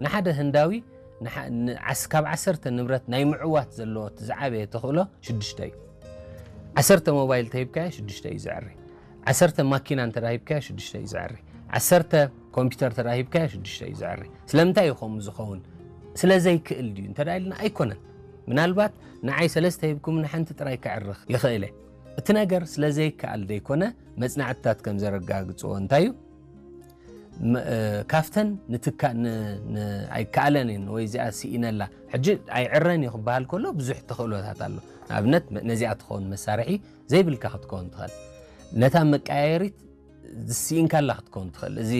ንሓደ ህንዳዊ ንሓ- ን- ዓስ- ካብ ዓሰርተ ንብረት ናይ ምዕዋት ዘለዎ እቲ ዝዓበየ ተኽእሎ ሽዱሽተ እዩ። ዓሰርተ ሞባይል ተሂብካዮ ሽዱሽተ እዩ ዘዕሪ። ዓሰርተ ማኪና እንተ ሂብካዮ ሽዱሽተ እዩ ዘዕሪ። ዓሰርተ ኮምፒውተር እንተ ሂብካዮ ሽዱሽተ እዩ ዘዕሪ። ስለምንታይ እዩ ከምኡ ዝኸውን? ስለ ዘይክእል ድዩ እንተ ኢልና ኣይኮነን። ምናልባት ንዓይ ሰለስተ ሂብኩም ንሓንቲ ጥራይ ከዕርኽ ይኽእል እየ። እቲ ነገር ስለ ዘይከኣል ደይኮነ መጽናዕትታት ከም ዘረጋግጽዎ እንታይ እዩ? መ- እ፣ ካብተን ንትካ ን- ን- ኣይከኣለን እየን ወይ እዚኣ ስኢነላ ሕጂ ኣይዕረን እዩ ክበሃል ከሎ ብዙሕ ተኽእሎታት ኣሎ። ንኣብነት መ- ነዚኣ ትኸውን መሳርሒ ዘይብልካ ክትከውን ትኽእል። ነታ መቀያየሪት ዝስኢንካላ ክትከውን ትኽእል። እዚ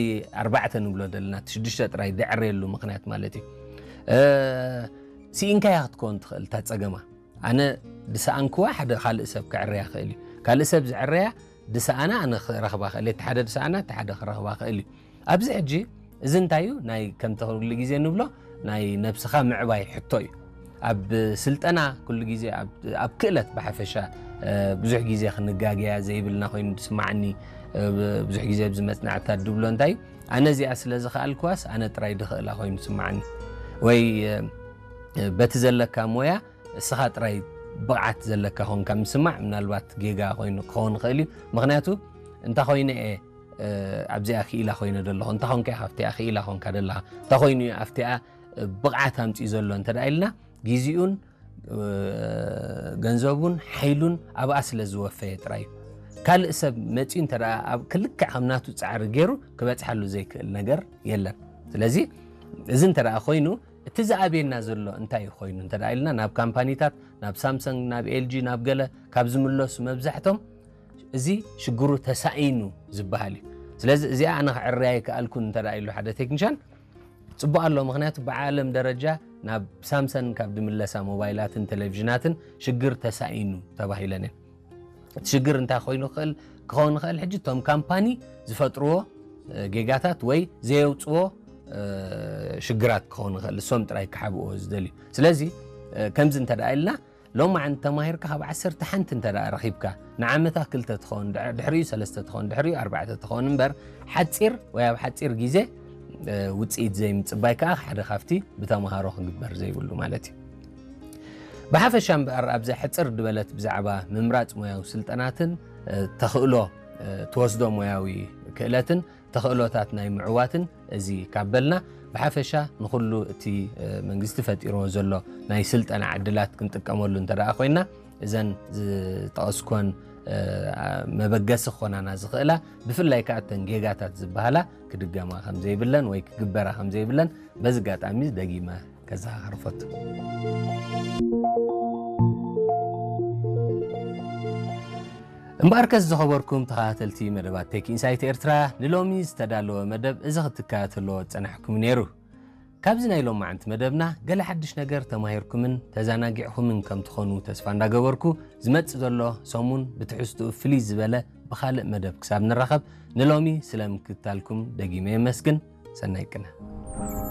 ኣርባዕተ ንብሎ ዘለና እቲ ሽዱሽተ ጥራይ ደዕረየሉ ምኽንያት ማለት እዩ። እ፣ ስኢንካያ ክትከውን ትኽእል እታ ጸገማ። ኣነ ድሰኣንክዋ ሓደ ካልእ ሰብ ክዕረያ ክእል እዩ። ካልእ ሰብ ዝዕረያ ድሰኣና ኣነ ክረኽባ ክእል እየ። እቲ ሓደ ድሰኣና እቲ ሓደ ክረኽባ ክእል እዩ። ኣብዚ ሕጂ እዚ እንታይ እዩ? ናይ ከምቲ ኩሉ ግዜ ንብሎ ናይ ነብስኻ ምዕባይ ሕቶ እዩ። ኣብ ስልጠና ኩሉ ግዜ ኣብ ኣብ ክእለት ብሓፈሻ እ፣ ብዙሕ ግዜ ክንጋገያ ዘይብልና ኮይኑ ዝስማዓኒ እ፣ ብዙሕ ግዜ ኣብዚ መጽናዕትታት ድብሎ እንታይ እዩ? ኣነ እዚኣ ስለ ዝኸኣልክዋስ ኣነ ጥራይ ድኽእላ ኮይኑ ዝስማዓኒ ወይ እ፣ በቲ ዘለካ ሞያ እስኻ ጥራይ ብቕዓት ዘለካ ኮንካ ምስማዕ ምናልባት ጌጋ ኮይኑ ክኸውን ይኽእል እዩ። ምኽንያቱ እንታ ኮይነ እየ ኣብዚኣ ክኢላ ኮይነ ዘለኹ እንታ ኮንካ ኢኻ ኣብቲኣ ክኢላ ኮንካ ዘለኻ እንታ ኮይኑ እዩ ኣብቲኣ ብቕዓት ኣምፅኡ ዘሎ እንተ ደኣ ኢልና ግዜኡን ገንዘቡን ሓይሉን ኣብኣ ስለ ዝወፈየ ጥራይ እዩ። ካልእ ሰብ መፂኡ እንተ ደኣ ኣብ ክልክዕ ከም ናቱ ፃዕሪ ገይሩ ክበፅሓሉ ዘይክእል ነገር የለን። ስለዚ እዚ እንተ ደኣ ኮይኑ እቲ ዝኣብየና ዘሎ እንታይ እዩ ኮይኑ እንተ ደኣ ኢልና ናብ ካምፓኒታት ናብ ሳምሰንግ ናብ ኤልጂ ናብ ገለ ካብ ዝምለሱ መብዛሕቶም እዚ ሽግሩ ተሳኢኑ ዝበሃል እዩ። ስለዚ እዚኣ ኣነ ክዕርያ ኣይከኣልኩን እንተ ደኣ ኢሉ ሓደ ቴክኒሻን ጽቡቕ ኣሎ። ምኽንያቱ ብዓለም ደረጃ ናብ ሳምሰንግ ካብ ድምለሳ ሞባይላትን ቴሌቪዥናትን ሽግር ተሳኢኑ ተባሂለን እየን። እቲ ሽግር እንታይ ኮይኑ ክእል ክኸውን ይኽእል ሕጂ እቶም ካምፓኒ ዝፈጥርዎ እ፣ ጌጋታት ወይ ዘየውፅዎ እ፣ ሽግራት ክኸውን ይኽእል እሶም ጥራይ ክሓብእዎ ዝደልዩ። ስለዚ እ፣ ከምዚ እንተ ደኣ ኢልና ሎማዓንቲ ተማሂርካ ካብ ዓሰርተ ሓንቲ እንተ ደኣ ረኺብካ ንዓመታ ክልተ ትኸውን ድሕ- ድሕሪኡ ሰለስተ ትኸውን ድሕሪኡ ኣርባዕተ ትኸውን እምበር ሓፂር ወይ ኣብ ሓፂር ግዜ እ፣ ውፅኢት ዘይምፅባይ ከዓ ሓደ ካብቲ ብተምሃሮ ክግበር ዘይብሉ ማለት እዩ። ብሓፈሻ እምበኣር ኣብዚ ሕፅር ድበለት ብዛዕባ ምምራፅ ሞያዊ ስልጠናትን እ፣ ተኽእሎ እ፣ ትወስዶ ሞያዊ ክእለትን ተኽእሎታት ናይ ምዕዋትን እዚ ካብ በልና ብሓፈሻ ንኹሉ እቲ እ፣ መንግስቲ ፈጢርዎ ዘሎ ናይ ስልጠና ዕድላት ክንጥቀመሉ እንተ ደኣ ኮይና እዘን ዝጠቐስኮን እ፣ መበገሲ ክኾናና ዝኽእላ ብፍላይ ከዓ እተን ጌጋታት ዝበሃላ ክድገማ ከም ዘይብለን ወይ ክግበራ ከም ዘይብለን በዚ ኣጋጣሚ ደጊመ ከዘኻኽር ፈቱ። እምበኣርከስ ዝኸበርኩም ተኸታተልቲ መደባት ቴክ ኢንሳይት ኤርትራ ንሎሚ ዝተዳለወ መደብ እዚ ክትከታተልዎ ዝጸናሕኩም ነይሩ። ካብዚ ናይ ሎማዓንቲ መደብና ገለ ሓድሽ ነገር ተማሂርኩምን ተዘናጊዕኹምን ከም ትኾኑ ተስፋ እንዳገበርኩ ዝመጽእ ዘሎ ሰሙን ብትሕዝትኡ ፍልይ ዝበለ ብኻልእ መደብ ክሳብ ንራኸብ ንሎሚ ስለ ምክትታልኩም ደጊመ የመስግን። ሰናይ ቅነ።